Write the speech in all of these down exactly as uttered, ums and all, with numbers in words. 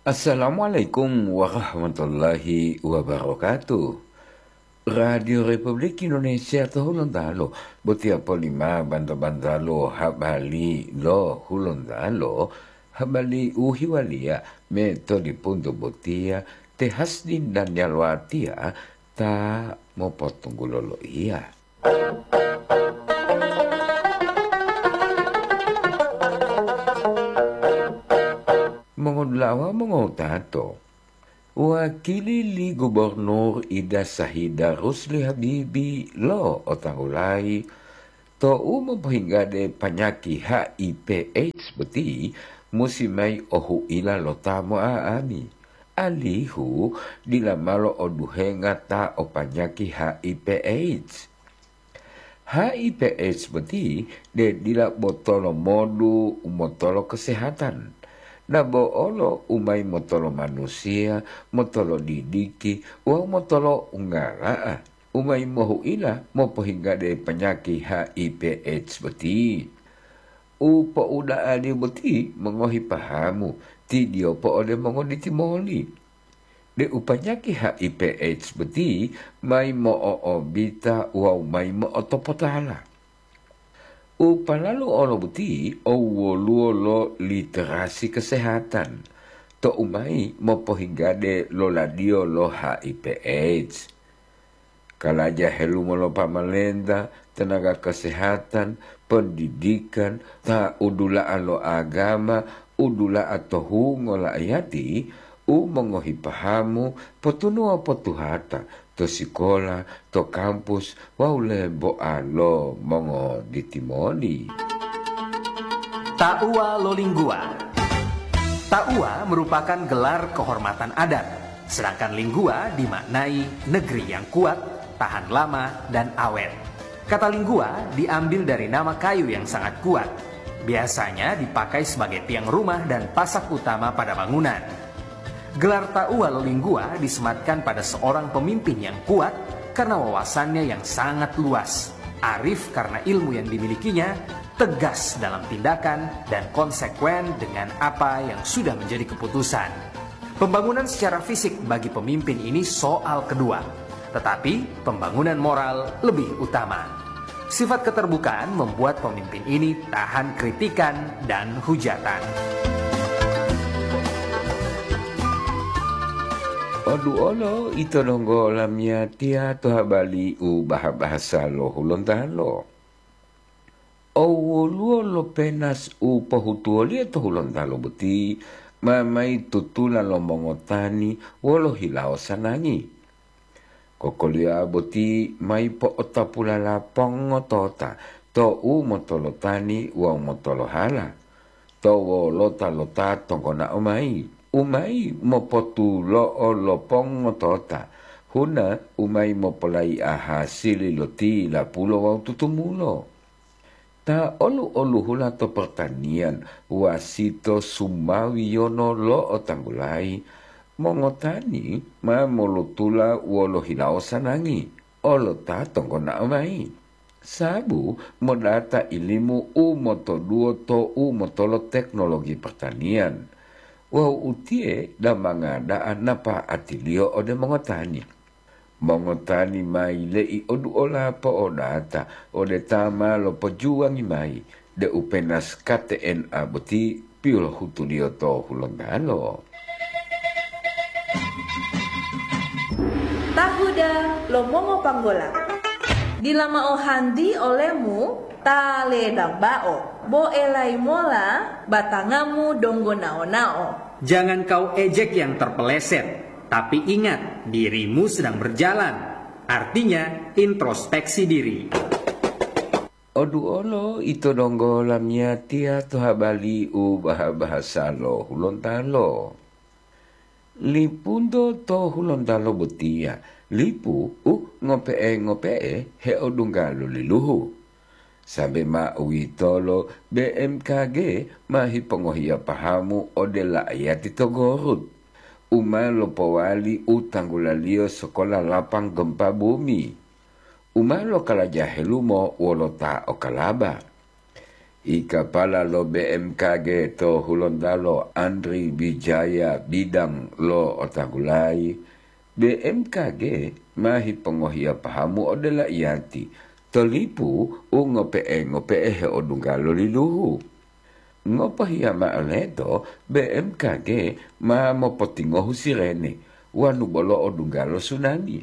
Assalamualaikum warahmatullahi wabarakatuh. Radio Republik Indonesia to Hulontalo, botiya polima banto-bantalo habali lo Hulontalo, habali u hiwaliya me to lipunto botiya te Hasdin dan Yalwatia ta mopotunggulo loiya. Mongodula'a wawu mongotato, wakili li Gubernur Ida Sahida Rusli Habibi lo otanggulayi, tou mopohinggade panyaki H I V AIDS boti musi mayi o hu'ila lo ta mo'a'ami, alihu dila malo oduhenga ta o panyaki H I V AIDS. H I V AIDS boti de dila botolo modu u motolo kesehatan, dabo olo u mayi motolo manusiya, motolo didiki wawu motolo ungala'a, u mayi mohu'ila mopohinggade panyaki H I V AIDS boti. U po'uda'aliyo boti mongohi pahamu, tidiyopo ode mongoditimoli, deu panyaki H I V AIDS boti mayi mo'o'obita wawu mayi mo'otopotala. U palalu olo boti o woluwo lo literasi kesehatan tou mayi mopohinggade loladiyo lo H I V AIDS. Kalaja helumo lo pamalenta, tenaga kesehatan, pendidikan, ta udula'a lo agama, udula'a to hungo la'ayati, u mongohi pahamu, potunuwa potuhata to sikola, to kampus, wawu lemboa lo mongoditimoni. Tauwa lo Lingguwa. Tauwa merupakan gelar kehormatan adat, sedangkan Lingguwa dimaknai negeri yang kuat, tahan lama, dan awet. Kata Lingguwa diambil dari nama kayu yang sangat kuat. Biasanya dipakai sebagai tiang rumah dan pasak utama pada bangunan. Gelar Tauwa lo Lingguwa disematkan pada seorang pemimpin yang kuat karena wawasannya yang sangat luas, arif karena ilmu yang dimilikinya, tegas dalam tindakan, dan konsekuen dengan apa yang sudah menjadi keputusan. Pembangunan secara fisik bagi pemimpin ini soal kedua, tetapi pembangunan moral lebih utama. Sifat keterbukaan membuat pemimpin ini tahan kritikan dan hujatan. Oduolo ito donggo lamiyatiya to habali u baha-bahasa lo Hulontalo. O woluwo lo penas u pohutuwoliyo to Hulontalo boti ma mayi tutula lo mongotani wolo hilawo sanangi. Kokoliyoa boti mayi po'otapulala pongotota to u motolotani wawu motolohala, to wolota lo ta tonggonao mayi, u mayi mopotulo'o lo pongotota, huna u mayi mopolai'a hasili lo tilapulo wawu tutumulo. Ta olu-oluhula to pertanian, wasito sumawiyono lo otanggulayi, mongotani ma molotula wolo hilawo sanangi, olo ta tonggonao mayi. Sabu modata ilimu u motoduwo to u motolo teknologi pertanian, wawu utiye damanga da'a napa'atiliyo ode mongotani. Mongotani ma yile'i oduola po'odata ode ta ma lopojuwangi mayi deu penas K T N A boti pilohutuliyo to Hulontalo. Tahuda lo mongopanggola. Dila mao hanti olemu ta ledambao, bo elayi mola batangamu donggo nao-nao. Jangan kau ejek yang terpeleset, tapi ingat, dirimu sedang berjalan. Artinya, introspeksi diri. Oduolo ito donggo lamiyatiya to habali u baha-bahasa lo Hulontalo. Lipunto to Hulontalo botiya, lipu u ngope'e-ngope'e heodungga lo liluhu. Sambe ma uwitolo, B M K G ma hipongohiya pahamu ode la'ayati to Gorut, u ma lopowali u tanggulaliyo sokola lapang gempa bumi, u ma lokalaja helumo wolo ta o Kalaba. I kapala lo B M K G to Hulontalo, Andri Wijaya Bidang, lo'otanggulayi, B M K G ma hipongohiya pahamu ode la'iyati to lipu u ngope'e-ngope'e heodungga lo liluhu. Ngopohiya mao leto, B M K G ma mopotingohu sirene wanu bolo odungga lo sunami.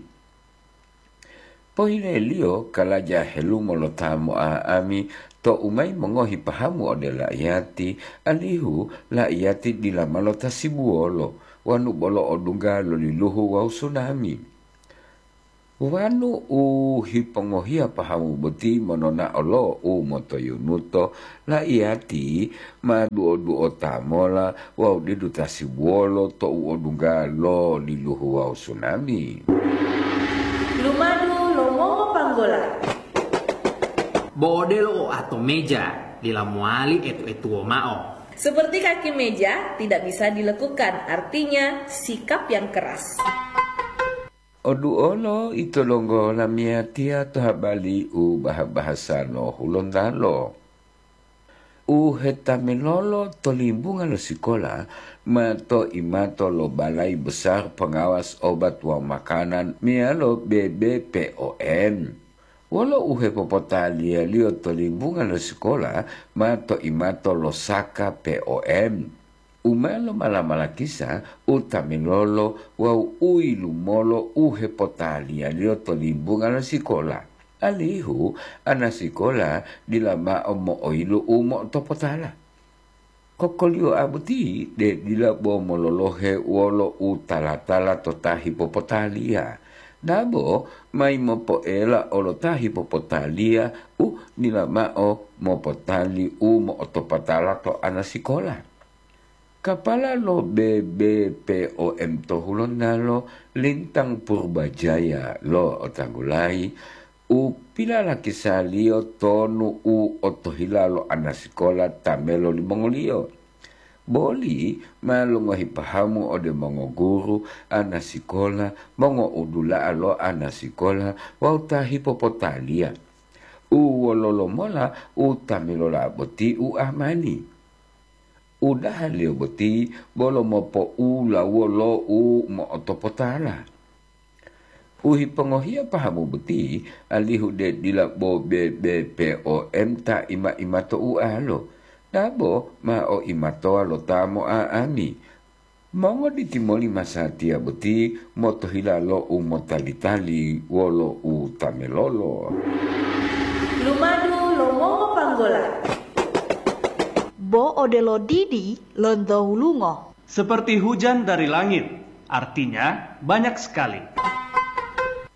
Pohileliyo kalaja helumo lo ta mo'a'ami tou mayi mongohi pahamu ode la'iyati, alihu la'iyati dila ma lotasibuwolo wanu bolo odungga lo liluhu wawu sunami. Wanu u hipongohiya pahamu boti monona'o lo u motoyunuto, la'iyati ma duo-duota mola wawu didu tasibuwolo tou odungga lo liluhu wawu sunami. Lumadu lo mongopanggola. Bo odelo oato meja, dila mowali etu-etuwo mao. Seperti kaki meja tidak bisa dilekukan, artinya sikap yang keras. Oduolo ito donggo lamiyatiya to habali u baha-bahasa lo Hulontalo. U hetamilolo to limbunga lo sikola ma to imato lo Balai Besar Pengawas Obat wawu Makanan meyalo B B P O M. Wolo u hepopotaliyaliyo to limbunga lo sikola ma to imato lo Saka P O M. U ma lomala-malakisa u tamilolo wawu u yilumolo u hepotaliyaliyo to limbunga lo sikola, alihu ana sikola dila mao mo'oyilu u mo'otopotala. Kokoliyoa boti de dila bo mololohe wolo u tala-tala to ta hipopotaliya, dabo mayi mopoela olo ta hipopotaliya u dila mao mopotali u mo'otopotala to ana sikola. Kapala lo B B P O M to Hulontalo, Lintang Purbajaya, lo'otanggulayi u pilalakisaliyo tonu u otohila lo ana sikola ta melo limongoliyo. Boli ma longohi pahamu ode mongoguru, ana sikola, mongoudula'a lo ana sikola wawu ta hipopotaliya. U wololo mola u ta milola boti u amani? Udahaliyo boti bolo mopo'ulawuwo lo u mo'otopotala. U hipongohiya pahamu boti, alihu de dila bo B B P O M ta ima-ima to ualo, dabo ma o imatowa lo ta mo'a'ami. Mongoditi moli masatiya boti motohila lo u motali-tali wolo u ta melolo. Lumadu lo mongopanggola. Bo odelo didi lonto hulungo. Seperti hujan dari langit, artinya banyak sekali.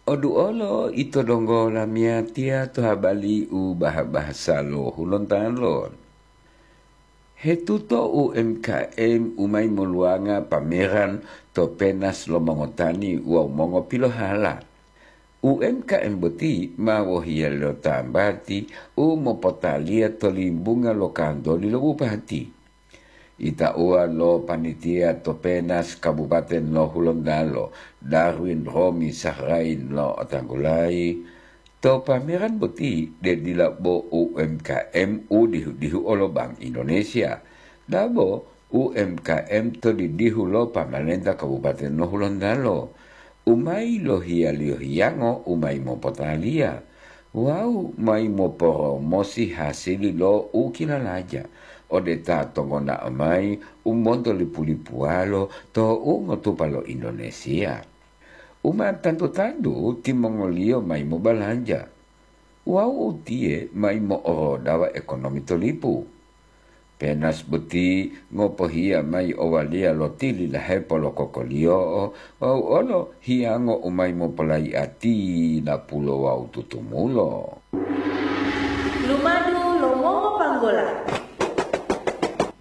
Oduolo ito donggo lamiyatiya to habali u baha-bahasa lo Hulontalo. Hetuto U M K M u mayi moluwanga pameran to penas lo mongotani wawu mongopilohala. U M K M boti ma wohiyaliyo tambati u mopotaliya to limbunga lo kantoli lo bupati. Itauwa lo panitia to penas Kabupaten lo Hulontalo, Darwin Romi Sahrain, lo'otanggulayi, to pameran boti de dila bo U M K M u dihu-dihu olo Bank Indonesia, dabo U M K M to didihu lo pamalenta Kabupaten lo Hulontalo, u mayi lohiyaliyo hiyango u mayi mopotaliya wawu mayi moporomosi hasili lo u kilalaja ode ta tongonao mayi u monto lipu-lipuwalo to u ngotupa lo Indonesia. U ma tantu-tantu timongoliyo mayi mobalanja wawu utiye mayi mo'orodawa ekonomi to lipu. Penas boti ngopohiya mayi owaliya lo tili lahepo lo kokoliyo'o wawu olo hiyango u mayi mopolayi'ati napulo wawu tutumulo. Lumadu lo mongopanggola.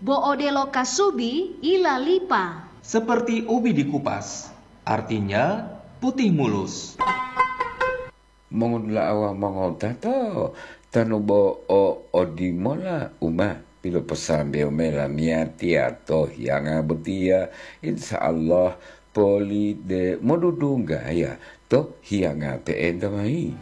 Bo odelo kasubi ilalipa. Seperti ubi dikupas, artinya putih mulus. Mongodula'a wawu mongowutato, tanu bo o odimola u ma piloposambewo mayi lamiyatiya to hiyanga botiya, insya Allah poli de modudunggaya to hiyanga pe'enta mayi.